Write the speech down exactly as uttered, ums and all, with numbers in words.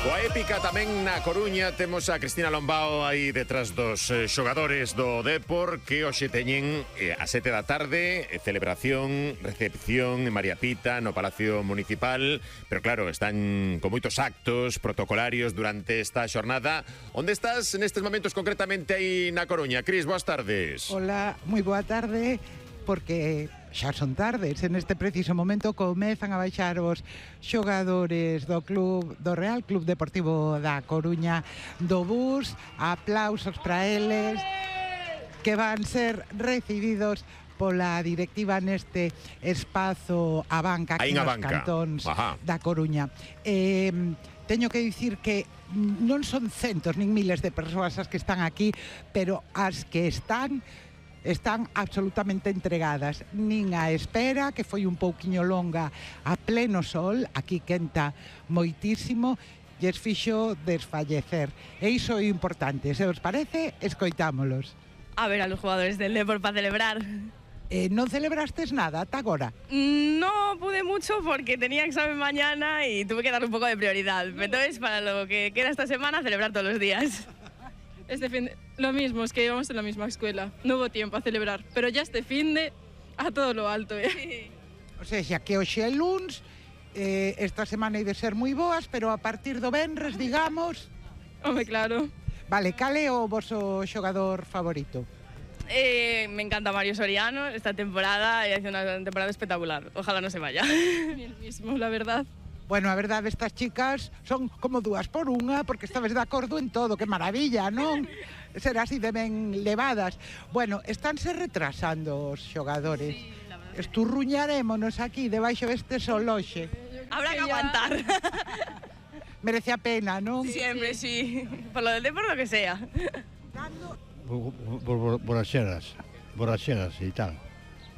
Coa épica tamén na Coruña temos a Cristina Lombao aí detrás dos eh, xogadores do Depor que hoxe teñen eh, a sete da tarde eh, celebración, recepción en María Pita no Palacio Municipal, pero claro, están con moitos actos protocolarios durante esta xornada. Onde estás nestes momentos concretamente aí na Coruña? Cris, boas tardes. Hola, moi boa tarde, porque xa son tardes, en este preciso momento comezan a baixar os xogadores do club, do Real Club Deportivo da Coruña do bus. Aplausos para eles que van ser recibidos pola directiva neste espazo a banca aquí nos cantóns da Coruña. Eh, teño que dicir que non son centos nin miles de persoas as que están aquí, pero as que están están absolutamente entregadas, nin a espera, que foi un pouquiño longa, a pleno sol, aquí quenta moitísimo, e es fixo desfallecer. E iso é importante, se os parece, escoitámolos. A ver a los jugadores del Depor para celebrar. Eh, non celebrastes nada ata agora? No pude mucho porque tenía examen mañana y tuve que dar un poco de prioridad. Entonces, para lo que queda esta semana, celebrar todos los días. Este fin de... Lo mismo, es que íbamos en la misma escuela. No hubo tiempo a celebrar, pero ya este fin de a todo lo alto, ¿eh? Sí. O sea, xa que hoxe é luns, eh, esta semana hai de ser moi boas, pero a partir do venres, digamos... Home, claro. Vale, cal é o voso xogador favorito? Eh, me encanta Mario Soriano esta temporada y hace una temporada espectacular. Ojalá no se vaya. El mismo, la verdad. Bueno, a verdade, estas chicas son como dúas por unha, porque estabes de acordo en todo, que maravilla, non? Ser así de ben levadas. Bueno, estánse retrasando os xogadores. Sí, la verdad. Esturruñarémonos aquí, debaixo deste soloxe. Habrá que aguantar. Merece a pena, non? Siempre, sí. Por lo del Depor, lo que sea. Borracheras, borracheras y tal.